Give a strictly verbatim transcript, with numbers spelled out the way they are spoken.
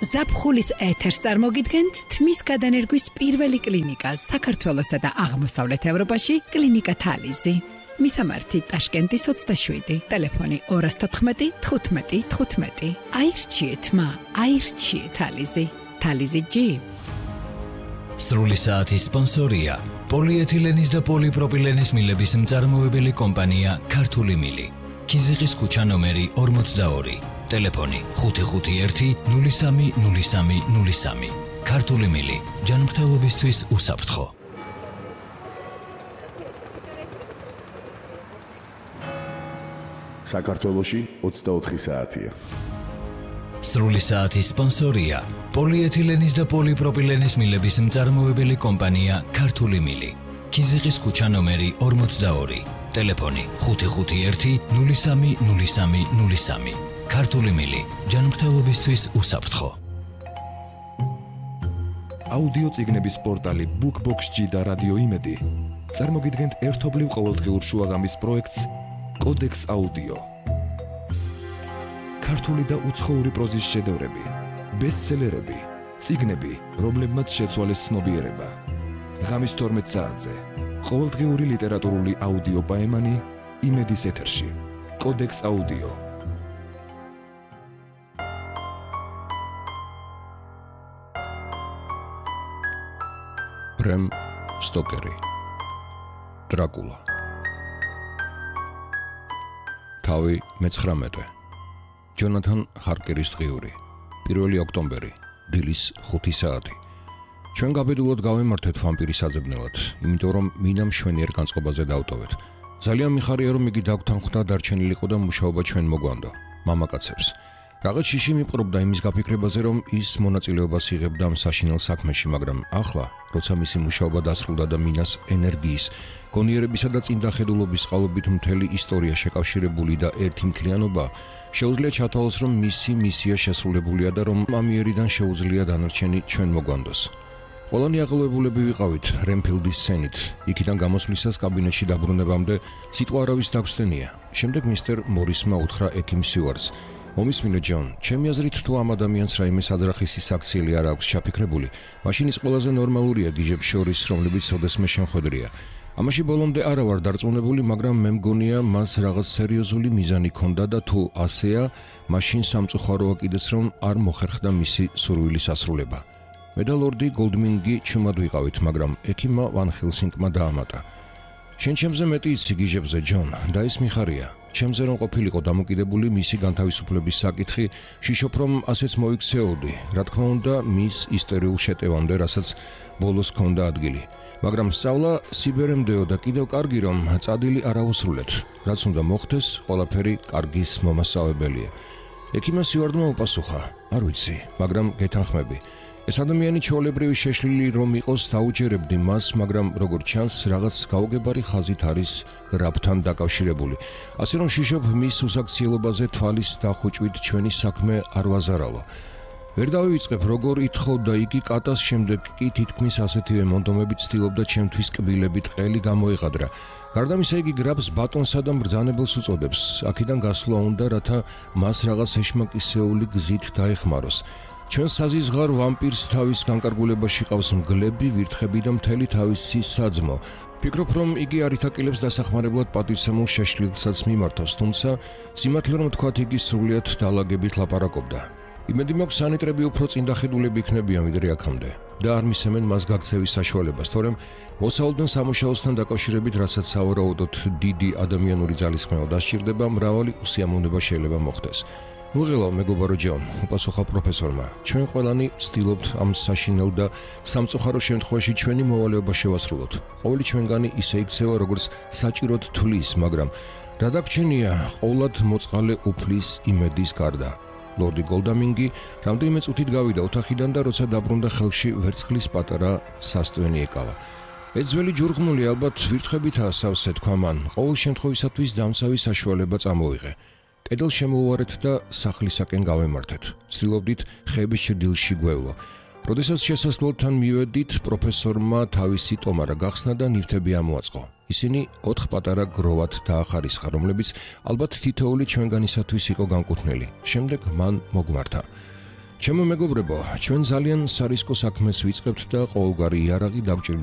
ზაფხულის ეთერს წარმოგიდგენთ თმის გადანერგვის პირველი კლინიკა საქართველოსა და აღმოსავლეთ ევროპაში კლინიკა თალიზი. მისამართი ტაშკენტის ოცდაშვიდი, ტელეფონი ორას თოთხმეტი თხუთმეტი თხუთმეტი. აირჩიეთ მა, აირჩიეთ თალიზი. თალიზი ჯი. სრული საათის სპონსორია პოლიეთილენის და პოლიპროპილენის მილების მწარმოებელი კომპანია ქართული მილი. კიზიყის ქუჩა ნომერი ორმოცდაორი. ტელეფონი ხუთი ხუთი ერთი ნული სამი ნული სამი ნული სამი. ქართული მილი, ჯანმრთელობისთვის უსაფრთხო. საქართველოში ოცდაოთხი საათია. სრული საათის სპონსორია პოლიეთილენის და პოლიპროპილენის მილების მწარმოებელი კომპანია ქართული მილი. კიზიყის ქუჩა ნომერი ორმოცდაორი. ტელეფონი ხუთი ხუთი ერთი ნული სამი ნული სამი ნული სამი. ქართული მილი, ჯანმრთელობისთვის უსაფრთხო. აუდიო წიგნების პორტალი BookBox-G და რადიო იმედი წარმოგიდგენთ ერთობლივ ყოველდღიურ შუაღამის პროექტს კოდექს აუდიო. ქართული და უცხოური პროზის შედევრები, ბესტსელერები, წიგნები, რომლებმაც შეცვალეს ცნობიერება. ღამის თორმეტ საათზე ყოველდღიური ლიტერატურული აუდიო პაემანი იმედის ეთერში. კოდექს აუდიო. ბრემ სტოკერი. დრაკულა. თავი მეცხრამეტე. ჯონათან ჰარკერის დღიური. პირველი ოქტომბერი, დილის ხუთი საათი. ჩვენ გაბედულად გავემართეთ ვამპირის საძებნელად, იმიტომ რომ მინამ მშვენიერ განწყობაზე დავტოვეთ. ძალიან მიხარია რომ იგი დაგთანხმდა დარჩენილიყო და მუშაობა ჩვენ მოგვანდო. მამაკაცებს. რაღაც შიში მიპყრობდა იმის გაფიქრებაზე, რომ ის მონაწილეობას იღებდა ამ საშინელ საქმეში, მაგრამ ახლა, როცა მისი მუშაობა დასრულდა და მინას ენერგიის, გონიერებისა და წინდახედულობის წყალობით მთელი ისტორია შეკავშირებული და ერთი მთლიანობა, შეუძლია ჩათვალოს, რომ მისი მისია შესრულებულია და რომ ამიერიდან შეუძლია დანარჩენი ჩვენ მოგვანდოს. ყველანი აღელვებულები ვიყავით რენფილდის სცენით, იქიდან გამოსვლისას კაბინეტში დაბრუნებამდე სიტყვა არავის დაგვსდენია. შემდეგ მისტერ მორისმა უთხრა ექიმ სიუარს: მომისმინე ჯონ, ჩემი აზრით თუ ამ ადამიანს რაიმე საძრახის საქციელი არ აქვს ჩაფიქრებული, მაშინ ის ყველაზე ნორმალურია გიჟებს შორის, რომლებიც ოდესმე შემხვედრია. ამაში ბოლომდე არა ვარ დარწმუნებული, მაგრამ მე მგონია მას რაღაც სერიოზული მიზანი ჰქონდა და თუ ასეა, მაშინ სამწუხაროა კიდეც რომ არ მოხერხდა მისი სურვილის ასრულება. მე და ლორდი გოლდმინგი ჩუმად ვიყავით, მაგრამ ექიმმა ვან ჰილსინგმა დაამატა: შენ ჩემზე მეტი იცი გიჟებზე, ჯონ, და ის მიხარია. ჩემზე რომ ყოფილიყო დამოკიდებული მისი განთავისუფლების საკითხი, ვშიშობ რომ ასეც მოიქცეოდი, რა თქმა უნდა, მის ისტორიულ შეტევამდე, რასაც ბოლოს ჰქონდა ადგილი. მაგრამ სწავლა სიბერემდეო და კიდევ კარგი რომ წადილი არ აუსრულეთ. რაც უნდა მოხდეს, ყველაფერი კარგის მომასწავებელია. ექიმმა სიუარდმა უპასუხა: არ ვიცი, მაგრამ გეთანხმები. ეს ადამიანი ჩვეულებრივი შეშლილი რომ იყოს დაუჯერებდი მას, მაგრამ როგორც ჩანს, რაღაც გაუგებარი ხაზით არის გრაფთან დაკავშირებული. ასე რომ შიშობ მის უსაქციელობაზე თვალის დახუჭვით ჩვენი საქმე არ ვაზარავა. ვერ დავივიწყებ როგორ ითხოვდა იგი კატას, შემდეგ კი თითქმის ასეთივე მონდომებით ცდილობდა ჩემთვის კბილებით ყელი გამოეღადრა. გარდა ამისა იგი გრაფს ბატონსა და მბრძანებელს უწოდებს. აქედან გასვლა უნდა, რათა მას რაღაც ეშმაკისეული გზით დაეხმაროს. ჩვენ საზიზღარ ვამპირს თავის განკარგულებაში ყავს მგლები, ვირთხები და მთელი თავისი საძმო. ფიქრობ რომ იგი არ ითაკილებს დასახმარებლად პატივცემულ შეშლილსაც მიმართოს, თუმცა სიმართლე რომ თქვათ, იგი სრულიად დალაგებით ლაპარაკობდა. იმედი მაქვს სანიტრები უფრო წინდახედულები იქნებიან ვიდრე აქამდე და არ მისცემენ მას გაქცევის საშუალებას, თორემ მოსავალდნენ სამუშაოსთან დაკავშირებით, რასაც სავარაუდოდ დიდი ადამიანური ძალისხმევა დასჭირდება, მრავალი უსიამოვნება შეიძლება მოხდეს. მუღელავ მეგობარო ჯონ, უპასუხა პროფესორმა. ჩვენ ყველანი ვცდილობთ ამ საშინელ და სამწუხარო შემთხვევაში ჩვენი მოვალეობა შევასრულოთ. ყოველი ჩვენგანი ისე იქცევა, როგორც საჭიროდ თვლის, მაგრამ რა დაგვრჩენია, ყოვლად მოწყალე უფლის იმედის გარდა. ლორდი გოლდამინგი რამდენიმე წუთით გავიდა ოთახიდან და როცა დაბრუნდა, ხელში ვერცხლის პატარა სასტვენი ეკავა. ეძველი ჯურღმული ალბათ ვირთხებითაა სავსე, თქვა მან. ყოველ შემთხვევისათვის დამცავი საშუალება წამოიღე. კედელს შემოვუარეთ და სახლისაკენ გავემართეთ. ვცდილობდით ხეების ჭრდილში გვევლო. როდესაც შესასვლელთან მივედით, პროფესორმა თავისი ტომარა გახსნა და ნივთები ამოაწყო. ისინი ოთხ პატარა გროვად დაახარისხა, რომლებიც ალბათ თითოეული ჩვენგანისათვის იყო განკუთვნილი. შემდეგ მან მოგმართა. ჩემო მეგობრებო, ჩვენ ძალიან სარისკო საქმეს ვიწყებთ და ყოველგვარი იარაღი დავჭირდება